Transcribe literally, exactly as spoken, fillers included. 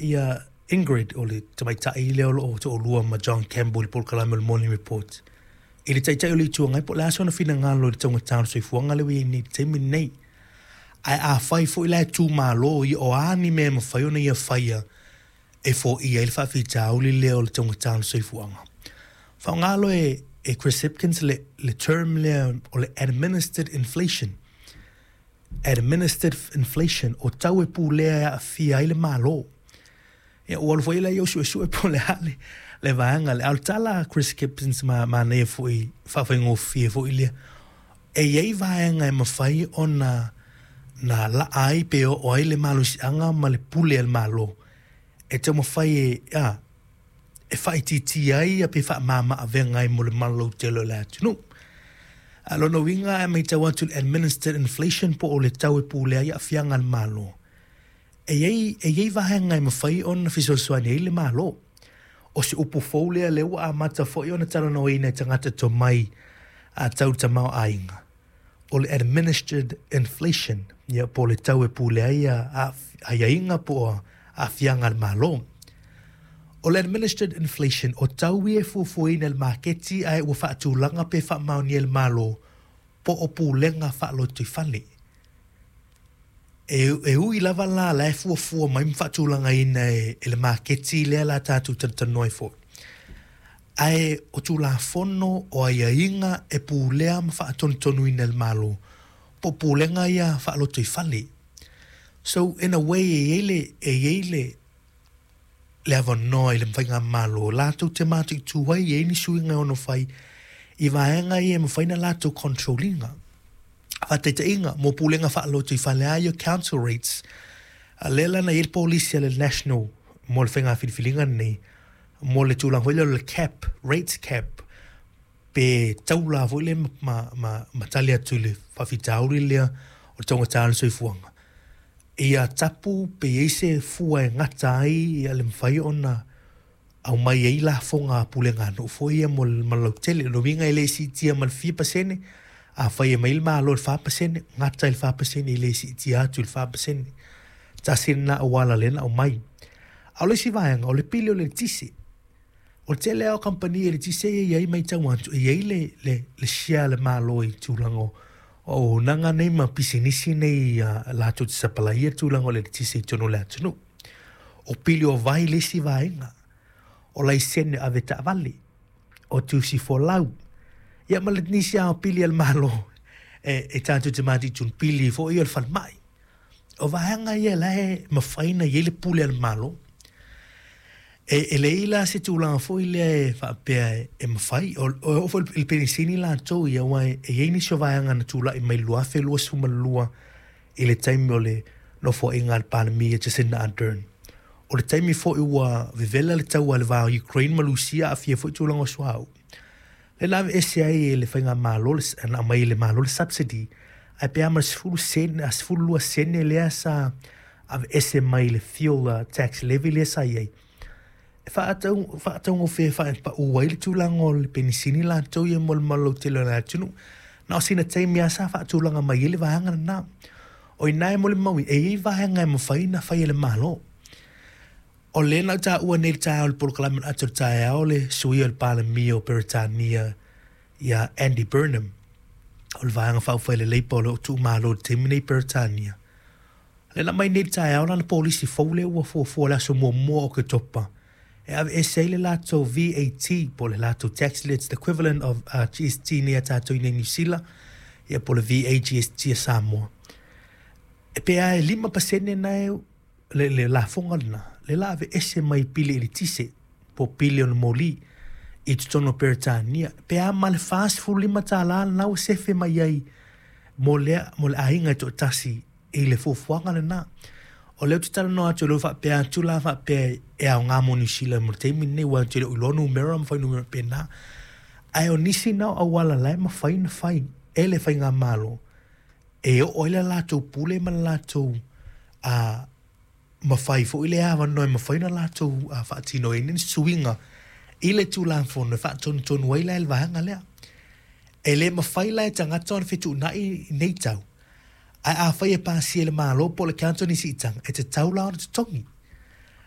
ia Ingrid, o le tamaitai lea o lo o toalua ma John Campbell i le polokalame o le Morning Report, i le Taitai o le Itu Agai, po o le a sona finagalo i le taugata o le soifuaga lea ua i ai nei i le taimi lenei. Ae afai foi la e tumalo ia, o a ni mea e mafai ona ia faia e foia ai le faafitauli lea o le taugata o le soifuaga. Faaaoga loa e, e Chris Hipkins le, le term lea o le administered inflation. Administered inflation, o tau e pulea e aafia ai le Malo. Ia, ua alu foi la ia suesue po o le a le, le vaega lea. A o le tala a Chris Hipkins ma manaia foi, faafaigofie foi lea. E i ai vaega e mafai ona na laa ai pe oo ai le malosiaga ma le pule a le Malo e taumafai e, a, e faaitiitia ai ia pe faamama avega ai mo le malolautele o le atunuu. A lona uiga e matau atu le administered inflation po o le tau e pulea ai aafiaga a le Malo. E i ai, e i ai vaega e mafai ona fesoasoani ai le Malo. O se upu fou lea lea ua amata foi ona talanoaina e tagata tomai a tau tamaoaiga. O le administered inflation, ia po o le tau e pulea ai aiaiga po o aafiaga a le Malo. O le administered inflation, o tau ia e fuafuaina e le maketi ae ua faatulaga pe faamaonia e le Malo po o pulega faalotoifale. E, e ui lava la la e fuafua mai ma faatulagaina e, e le maketi lea la tatou talatalanoa ai foi. Ae o tulafono o aiaiga e pulea ma faatonutonuina e le Malo po o pulega ia faalotoifale. So in a way e i ai le, e i ai le, le avanoa i le faigamalo latou te mataitu ai e i ai ni suiga e ono fai i vaega ia e mafai ona latou control ina. Faataitaiga, mo pulega faalotoifale a ia council rates, a lea la na i ai le polisi a le National mo le faiga filifiliga lenei, mo le tulaga foi lea o le cap, rates cap, pe taula foi lea ma, ma, ma tali atu i le faafitauli lea o le taugata o le soifuaga. Ia tapu pe i ai se fua e gata ai ia le mafai ona aumai ai lafoga a pulega nuu foi ia mo le malautele. O le uiga e le siitia ma le fia pasene, afai e mai le Malo i le fa pasene, gata i le fa pasene, e le siitia atu i le fa pasene. Tasi lena auala lea na aumai. A o le isi vaega, o le pili o le eletise. O le tele lava o kamupani eletise ia e i ai matau atu, e i ai le, le, le share a le Malo i tulaga o auaunaga nei ma pisinisi nei a latou te sapalaia tulaga o le eletise i totonu o le atunuu. O pili o vai le isi vaega, o laisene avetaavale, o tusi folau, ia ma le nisi lava o pili a le Malo e, e tatou te mataitu, pili foi o le falemai. O vaega ia la e mafai ona i ai le pule a le Malo. E, e leai la se tulaga foi lea e faapea e, e mafai. O, o oo foi i le penisini latou ia, aua e i ai nisi o vaega na tulai mai i le deux mille vingt-deux i le taimi o le nofoaiga a le Palemia Jacinda Ardern. O le taimi foi ua vevela le taua i le va o Ukraine ma Rusia, aafia foi tulaga o suauu. Lea na aveese ai e le faigamalo, na aumai e le Malo le subsidy, ae pe a ma le sefulu sene, a sefulu lua sene lea sa aveese mai le fuel uh, tax levy lea sa i ai. E faatau, faataugofie faapau ai le tulaga o le penisini latou ia mo le malautele o le atunuu. Na o sina taimi lava sa faatulaga mai ai le vaega lena. O i ina e molimau, e i ai vaega e mafai ona fai e le Malo. O lea na ou taua nei i le taeao i le polokalame o le ata o le taeao le suia o le Palemia o Peretania ia Andy Burnham, o le vaega faaupufai a le Labour o lo o tuumalo i le taimi nei i Peretania. Lea na aumai nei i le taeao lana polisi fou lea ua fuafua i le aso muamua o Oketopa e aveese ai le latou V A T po o le latou tax lea, it's the equivalent of uh, G S T nei a tatou i nei Niu Sila, ia po o le V A G S T a Samoa. E pe a e lima pasene na e le, le lafoga lena, le la aveese mai pili eletise po o pili o le moli i totonu o Peretania. Pe a ma le fasefulu lima tālā lena ua sefe mai ai mo lea, mo le aiga e toatasi i le fuafuaga lena. O lea ou te talanoa atu, o lea ua faapea atu la faapea e aoga mo Niu Sila mo le taimi lenei, aua ou te le o iloa numera ma fuainumera pena. Ae o nisi na o auala la e mafai ona fai e le faigamalo e oo ai le latou pule ma le latou a mafai foi le avanoa e mafai ona latou uh, faatinoina ni suiga i le tulafono e faatonutonu ai la e le vaega lea. E le mafai la e tagata ona fetuunai nei tau. Ae afai e pasia e le Malo po o le council ni siitaga, e tatau la ona totogi.